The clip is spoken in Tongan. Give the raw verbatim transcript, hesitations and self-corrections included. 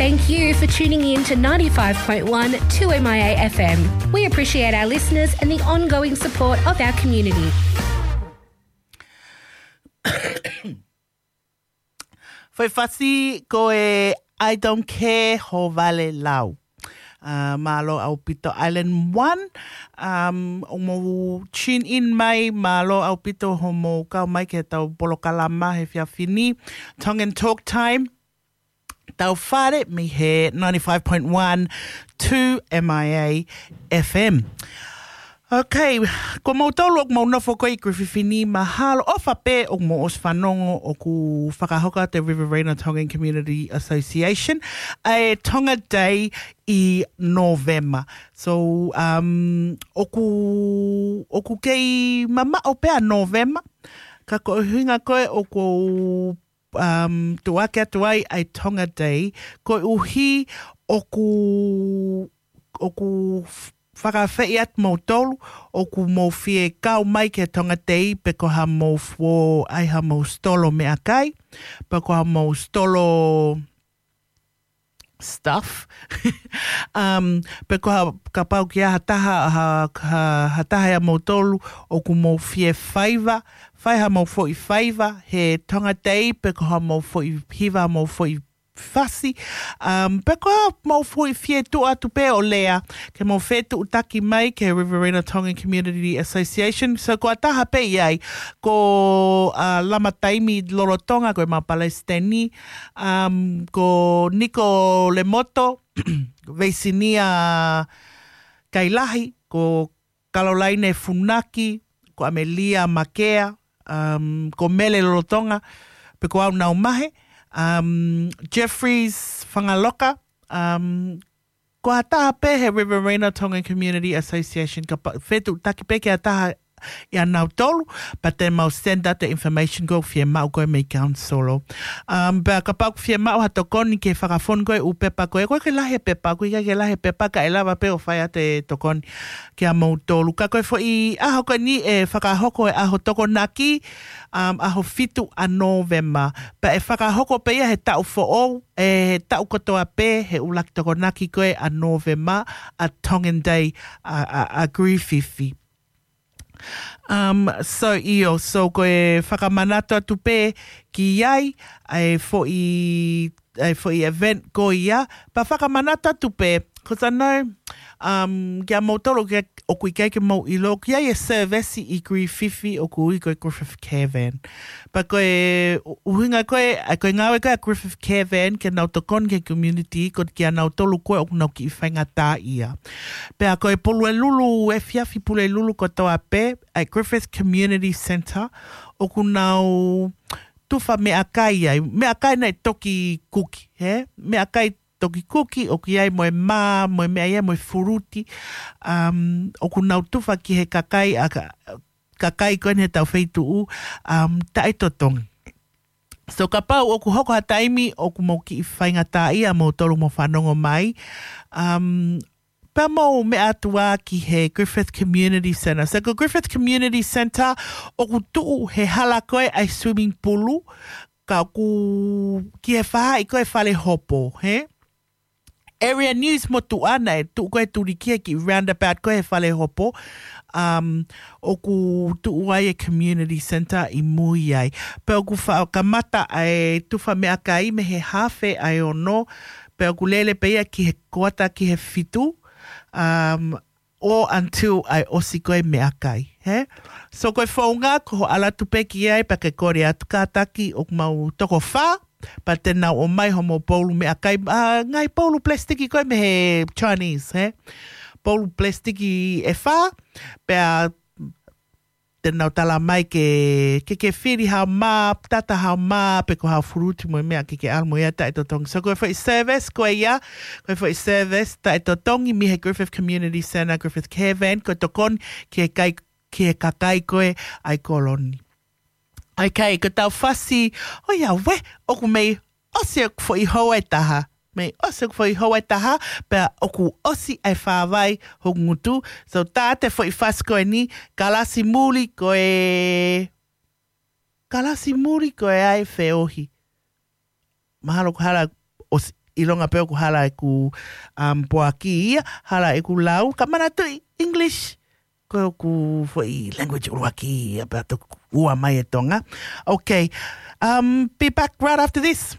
Thank you for tuning in to ninety-five point one two M I A F M. We appreciate our listeners and the ongoing support of our community. Foʻi fasi ko e I Don't Care Ho Vale Lau. Uh, mālō ʻaupito Island One. Um, ʻoku mou tune in mai, mālō ʻaupito hoʻomou kau mai ki heʻetau polokalama he efiafi ni. Tongan Talk Time. Tau fale mei he ninety-five point one two M I A F M. Okay, ko moutolu ʻoku mou nofo ko ē ʻi Griffith ni, mahalo ʻofa pē ʻoku mou ʻosi fanongo ʻoku fakahoko ʻe he Riverina Tongan Community Association ʻa e Tonga Day ʻi Novema. So, um, ʻoku, ʻoku kei mamaʻo pē ʻa Novema, ka ko e ʻuhinga ko ē ʻoku ou um, tuʻuaki atu ai ʻa e Tonga Day, koeʻuhi ʻoku, ʻoku f-, fakaafeʻi atu moutolu, ʻoku mou fie kau mai ki he Tonga Day, pe ko haʻamou fo-, ʻai haʻamou stolo meʻakai, pe ko haʻamou stolo stuff. Um, pe ko ha, kapau ʻoku ʻi ai ha taha, ha, ha, ha taha ʻia moutolu ʻoku mou fie faiva, fai haʻamou foʻi faiva he Tonga Day, pe ko haʻamou foʻi hiva, haʻamou foʻi fasi. Um, pe ko haʻamou foʻi fie tuʻu atu pē ʻo lea, ke mou fetuʻutaki mai ki he Riverina Tongan Community Association. So ko ha taha pē ʻi ai, ko, uh, Lama Taimi Lolotonga, ko e mau Palesiteni, um, ko Niko Lemoto, Veisinia Kailahi, ko Kalolaine Funaki, ko ʻAmelia Makea, um, ko Mele Lolotonga, pe ko au Naumahe, um, Jeffries Fangaloka, um, ko ha taha pē he Riverina Tongan Community Association, kapau fetuʻutaki pē ki ha taha ʻia nautolu, pea te mau send out the information ko ē ʻoku fiemaʻu ko ē mei he council. Um, pea kapau ʻoku fiemaʻu ha tokoni ki he fakafonu ko ē ʻū pepa ko ē, ʻoku ʻikai ke lahi e pepa, ʻoku ʻikai ke lahi e pepa, kae lava pē ʻo fai atu e tokoni kia moutolu. Ka ko e foʻi ʻaho ko eni ʻe fakahoko e ʻaho Tokonaki, um, ʻaho fitu ʻa Novema. Pea ʻe fakahoko pē ia he taʻu foʻou, ʻe he taʻu kotoa pē, he ʻuluaki Tokonaki ko ē ʻa Novema, ʻa Tongan Day, ʻa, ʻa, ʻa Griffith. Um, so ʻio, so ko e fakamanatu atu pē ki ai, ʻa e foʻi, ʻa e foʻi event ko ia, pea fakamanatu atu pē, 'cause I know, um, kia moutolu ke ʻoku ʻikai ke mou ʻilo, ʻoku ʻi ai e service ʻi Griffith ʻoku ui ko e Griffith Caravan. Pea ko e ʻu-, ʻuhinga ko ē, ʻa ko e ngāue ko ē ʻa Griffith Caravan, ke nau tokoni ki he community, ko kia nautolu ko ē ʻoku nau kiʻi faingataʻaʻia. Pea ko e Pulelulu, efiafi Pulelulu kotoa pē, ʻa e Griffith Community Centre, ʻoku nau tufa meʻakai ai, meʻakai naʻe toki kuki, he? Meʻakai toki kuki, ʻoku ʻi ai mo e mā, mo e meʻa ia, mo e fuluti, um, ʻoku nau tufa ki he kakai, ʻa ka-, kakai ko eni he tau feituʻu, um, taʻetotongi. So kapau ʻoku hoko ha taimi ʻoku mou kiʻi faingataʻaʻia moutolu mo fanongo mai, um, pea mou meʻa atu ā ki he Griffith Community Centre. So ko Griffith Community Centre ʻoku tuʻu he hala ko ē ʻa e swimming pool, ka ʻoku ki he faʻahi ko ē Fale Hopo, he? Area News motuʻa naʻe tuʻu ko ē tuli ki he kiʻi roundabout ko ē he Fale Hopo, um, ʻoku tuʻu ai e Community Centre ʻi mui ai. Pea ʻoku fa-, kamata ʻa e tufa meʻakai mei he hafe ʻa e ono, pea ʻoku lele pē ia ki he kuata ki he fitu, um, ʻo until ʻa e ʻosi ko ē meʻakai, he? So ko e founga ko hoʻo ʻalu atu pē ki ai pea ke kole atu kātaki ʻoku mau toko fā, pea te nau ʻomai hoʻomou poulu meʻakai, ʻa, ngaahi poulu plastiki ko ē mei he Chinese, he? Poulu plastiki ʻe fā, pea te nau tala mai ke, ke, ke fili haʻo mā, tata haʻo mā, pe ko haʻo fuluti mo e meʻa ke ke ʻalu mo ia taʻetotongi. So ko e foʻi service ko ia, ko e foʻi service taʻetotongi mei he Griffith Community Centre, Griffith Caravan, ko e tokoni ki he kai-, ki he kakai ko ē ʻa e koloni. Okay, ko ʻetau fasi, ʻoiauē, ʻoku mei ʻosi ʻeku foʻi houa ʻe taha. Mei ʻosi ʻeku foʻi houa ʻe taha, pea ʻoku ʻosi ʻa e fāvai hoku ngutu. So tā atu e foʻi fasi ko eni, kalasi muli ko e, kalasi muli ko e ʻai feohi. Mahalo ko e hala ʻosi. ʻilonga pē ʻoku hala ʻeku, um, poaki ia, hala ʻeku lau, ka manatuʻi English. Ko ʻeku foʻi language ʻuluaki ia pea toki ua mai e Tonga. Okay. Um, be back right after this.